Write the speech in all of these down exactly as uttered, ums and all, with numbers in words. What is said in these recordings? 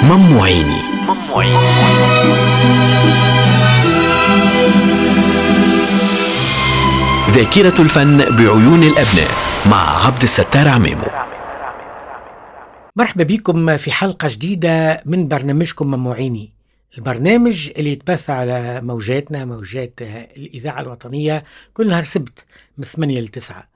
ممو عيني. ذاكرة الفن بعيون الأبناء مع عبد الستار عمامو. مرحبا بكم في حلقة جديدة من برنامجكم ممو عيني، البرنامج اللي يتبث على موجاتنا موجات الإذاعة الوطنية كل نهار سبت من ثمانية لتسعة،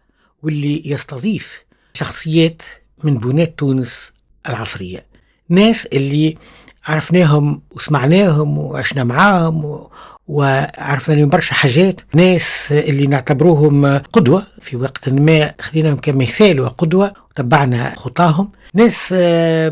واللي يستضيف شخصيات من بنات تونس العصرية، ناس اللي عرفناهم وسمعناهم وعشنا معاهم وعرفنا برشا حاجات، ناس اللي نعتبروهم قدوة في وقت ما خذيناهم كمثال وقدوة وتبعنا خطاهم، ناس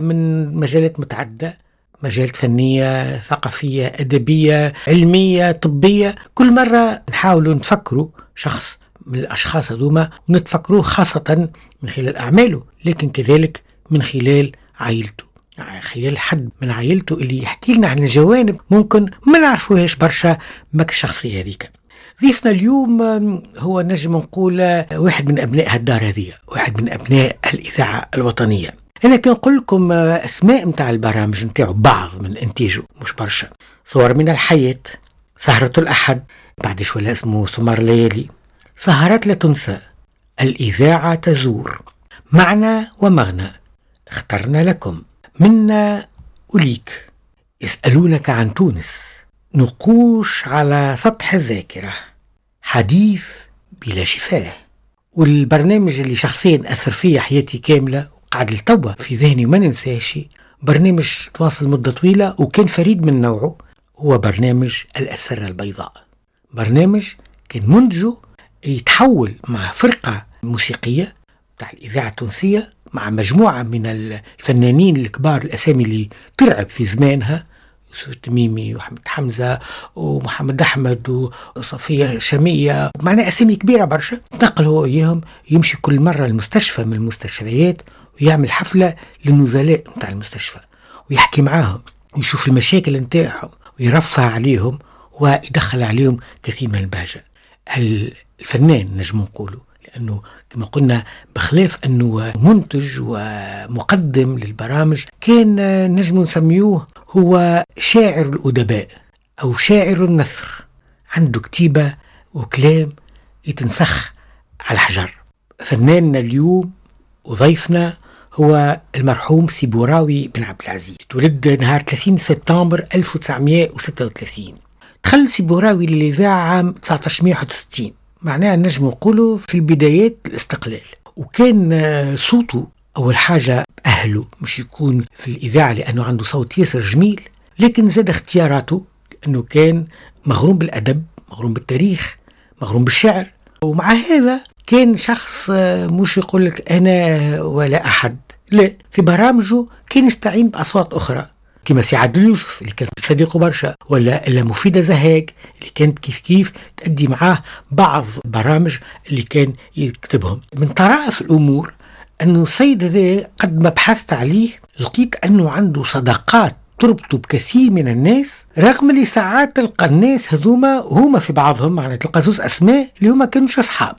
من مجالات متعددة، مجالات فنية، ثقافية، أدبية، علمية، طبية. كل مرة نحاولوا نفكروا شخص من الأشخاص هذوما ونتفكروه خاصة من خلال أعماله، لكن كذلك من خلال عائلته، خلال حد من عائلته اللي يحكي لنا عن جوانب ممكن ما نعرفوهاش برشا ماك الشخصية هذيك. ضيفنا اليوم هو نجم نقول واحد من أبناء هالدار هذه، واحد من أبناء الإذاعة الوطنية. أنا كنقول لكم أسماء متاع البرامج متاعه، بعض من إنتاجه مش برشا: صور من الحياة، سهرة الأحد بعد شوية اسمه سمر ليالي، سهرات لا تنسى، الإذاعة تزور، معنى ومغنى، اخترنا لكم، منا أوليك، يسألونك عن تونس، نقوش على سطح الذاكرة، حديث بلا شفاه. والبرنامج اللي شخصيا أثر فيه حياتي كاملة وقعد لتوا في ذهني وما ننساش، برنامج تواصل مدة طويلة وكان فريد من نوعه، هو برنامج الأسرة البيضاء. برنامج كان منتجه يتحول مع فرقة موسيقية بتاع الإذاعة التونسية، مع مجموعة من الفنانين الكبار، الأسامي اللي ترعب في زمانها، يوسف التميمي وأحمد حمزة ومحمد أحمد وصفية شامية، معناها أسامي كبيرة برشا. تنقل هو إياهم، يمشي كل مرة المستشفى من المستشفيات ويعمل حفلة للنزلاء متاع المستشفى ويحكي معاهم ويشوف المشاكل نتاعهم ويرفع عليهم ويدخل عليهم كثير من البهجة. الفنان نجم نقوله، لأنه كما قلنا بخلاف أنه منتج ومقدم للبرامج، كان نجم نسميوه هو شاعر الأدباء أو شاعر النثر، عنده كتيبة وكلام يتنسخ على الحجر. فناننا اليوم وضيفنا هو المرحوم سي بوراوي بن عبد العزيز. تولد نهار ثلاثين سبتمبر ألف وتسعمائة وستة وثلاثين. دخل سي بوراوي للإذاعة عام ألف وتسعمائة وواحد وستين، معناها نجم نقوله في البدايات الاستقلال. وكان صوته أول حاجة أهله مش يكون في الإذاعة لأنه عنده صوت ياسر جميل، لكن زاد اختياراته لأنه كان مغروم بالأدب، مغروم بالتاريخ، مغروم بالشعر. ومع هذا كان شخص مش يقول لك أنا ولا أحد، لا، في برامجه كان يستعين بأصوات أخرى كما سي عادل يوسف اللي كان صديقه برشا، ولا إلا مفيدة زهاك اللي كانت كيف كيف تأدي معاه بعض برامج اللي كان يكتبهم. من طرائف الأمور أنه السيد هذا قد ما بحثت عليه لقيت أنه عنده صداقات تربطه بكثير من الناس، رغم اللي ساعات تلقى الناس هذوما هما في بعضهم، معناها تلقى زوز أسماء اللي هما كانوش أصحاب،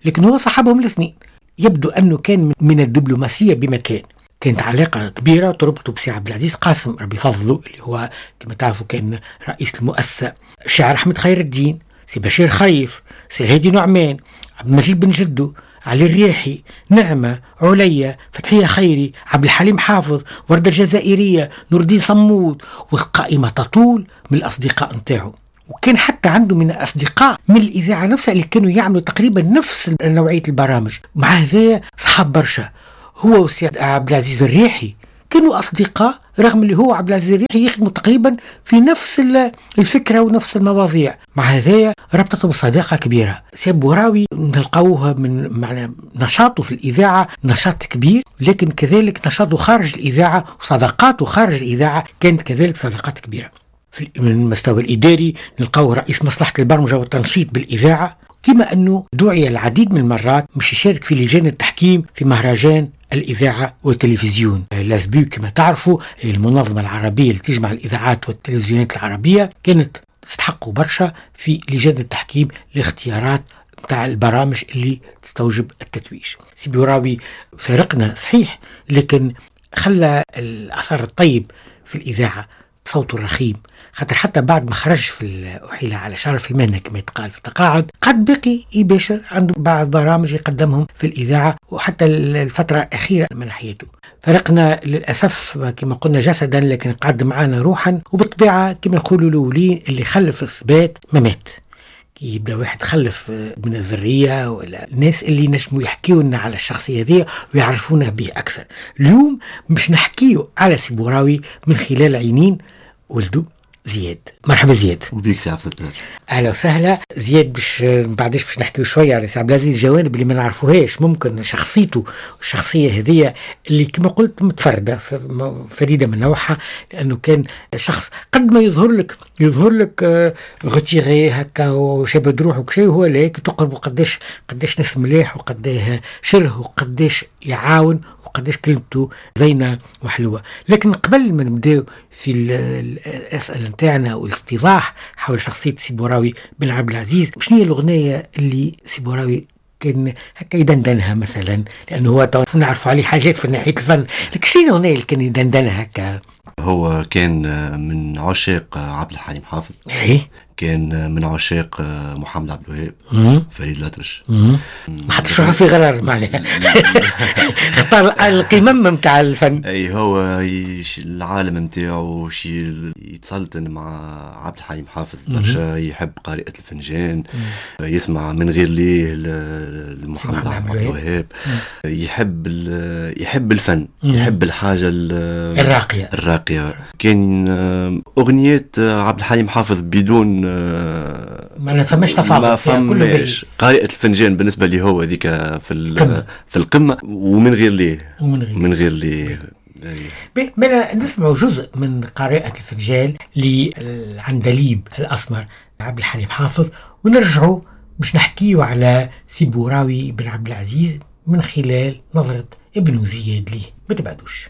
لكن هو صاحبهم الاثنين. يبدو أنه كان من الدبلوماسية بمكان، كانت علاقة كبيرة تربطه بسي عبد العزيز قاسم ربي فضله اللي هو كما تعرفوا كان رئيس المؤسسة، الشاعر أحمد خير الدين، سي بشير خيف، سي الهادي نعمان، عبد المجيد بن جدو، علي الرياحي، نعمة، عليا، فتحية خيري، عبد الحليم حافظ، وردة الجزائرية، نور الدين صمود، والقائمة تطول من الأصدقاء نتاعو. وكان حتى عنده من الأصدقاء من الإذاعة نفسها اللي كانوا يعملوا تقريبا نفس نوعية البرامج. مع هذا صحاب برشا، هو وسي عبد العزيز الريحي كانوا أصدقاء، رغم اللي هو عبد العزيز الريحي يخدموا تقريبا في نفس الفكرة ونفس المواضيع. مع هذايا ربطتهم صداقة كبيرة. سي بوراوي نلقاوه من معنى نشاطه في الإذاعة نشاط كبير، لكن كذلك نشاطه خارج الإذاعة وصداقاته خارج الإذاعة كانت كذلك صداقات كبيرة. في من المستوى الإداري نلقاوه رئيس مصلحة البرمجة والتنشيط بالإذاعة، كما أنه دعي العديد من المرات مش يشارك في لجان التحكيم في مهرجان الإذاعة والتلفزيون l'ASBU. كما تعرفوا المنظمة العربية اللي تجمع الإذاعات والتلفزيونات العربية كانت تستحقوا برشا في لجان التحكيم لاختيارات متاع البرامج اللي تستوجب التتويج. سي بوراوي فارقنا صحيح، لكن خلى الأثر الطيب في الإذاعة بصوته الرخيم، خاطر حتى بعد ما خرج في أحيل على شرف المهنة كما يتقال في التقاعد، قد بقي يباشر عنده بعض برامج يقدمهم في الإذاعة، وحتى الفترة الأخيرة من حياته. فرقنا للأسف كما قلنا جسدا، لكن قعد معنا روحا، وبالطبيعة كما يقولوا الأولين اللي خلف الثبات ما مات. كي يبدا واحد خلف من الذرية ولا الناس اللي نجموا يحكيوا لنا على الشخصية هذه ويعرفونا به أكثر. اليوم باش نحكيو على سي بوراوي من خلال عينين ولده زياد. مرحبا زياد. وبيك سي عبد الستار. اهلا وسهلا زياد. باش بعدش باش نحكيو شوية على سي عبد العزيز، الجوانب اللي ما نعرفوهاش، ممكن شخصيته الشخصية هذه اللي كما قلت متفردة فريدة من نوعها، لانه كان شخص قد ما يظهر لك يظهر لك retiré هكا وشابد روحه وكشيء، هو لكن تقرب قداش قداش ناس مليح وقداه شره وقداش يعاون وقداش كلمته زينة وحلوه. لكن قبل ما نبداو في الاسئلة نتاعنا والاستيضاح حول شخصية سي بوراوي بن عبد العزيز، شنو هي الاغنية اللي سي بوراوي كان هكا يدندنها مثلا؟ لانه هو نعرف عليه حاجات في ناحية الفن، لكن شنو الاغنية اللي كان يدندنها هكا؟ هو كان من عشاق عبد الحليم حافظ. ايه كان من عشاق محمد عبد الوهاب، فريد الأطرش. ما حطش روحه في غرار معناها، اختار القمم نتاع الفن. اي هو العالم نتاعو شي يتسلطن مع عبد الحليم حافظ برشا، يحب قارئة الفنجان، يسمع من غير ليه لمحمد عبد الوهاب، يحب يحب الفن، يحب الحاجة الراقية الراقية. كان أغنيات عبد الحليم حافظ بدون ما فماش تفاضل، ما فماش. قارئة الفنجان بالنسبة لي هو هذيك في في القمة، ومن غير ليه ومن غير من غير ليه. بلا نسمع جزء من قارئة الفنجان للعندليب الأسمر عبد الحليم حافظ، ونرجعوا باش نحكيو على سي بوراوي بن عبد العزيز من خلال نظرة ابنه زياد ليه. ما تبعدوش.